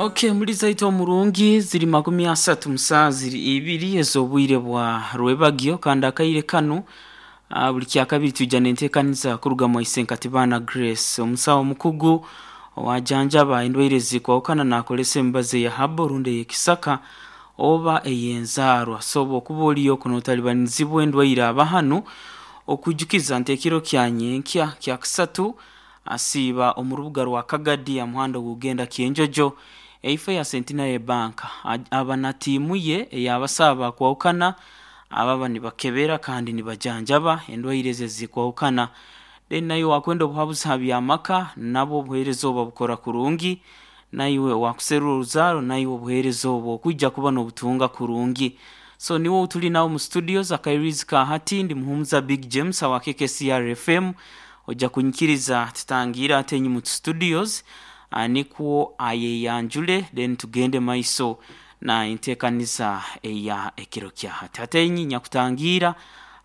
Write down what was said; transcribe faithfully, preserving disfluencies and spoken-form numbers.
Okay, muri zaitu omurungi ziri makumi asatu musaa ziri ibiri ez'obwire bwa rwebagyo kandi akaire kanu uh, buli kyakabiri twija nenteekaniza kuruga mwaise Nkatibana Grace, omusawo omukugu owajanjaba endwaire zikwahukana nakolesa emibazi eya habo rundi ey'ekisaka oba ey'enzaarwa. So bw'okuba oliyo kunotalibanizibwa endwaire aba hanu okwijukiza nti ekiro kya nyenkya kyakusatu asiiba omu rubuga rwa Kagadi aha muhanda ogugenda Kyenjojo eifo ya Centenary Bank. Aba na tiimu ye ey'abasawo abakwahukana ababa nibakebera kandi nibajanjaba endwaire ezi ezikwahukana. Then naiwe wakwenda obuhabuzi ha by'amaka, nabwo obuheereza obu babukora kurungi. Naiwe wakuserura oruzaaro, naiwe obuheereza obwo okwija kuba n'obutunga kurungi. So niwe ou tuli nawe mu studios akairizi ka hati ndi Muhumuza Big James awa K K C R F M. Ojja kunyikiriza tutangiire ate enyuma studios nikwo ayeyanjule, then tugende maiso na enteekaniza eya ekiro kya hati. Hati enyi nyakutangiira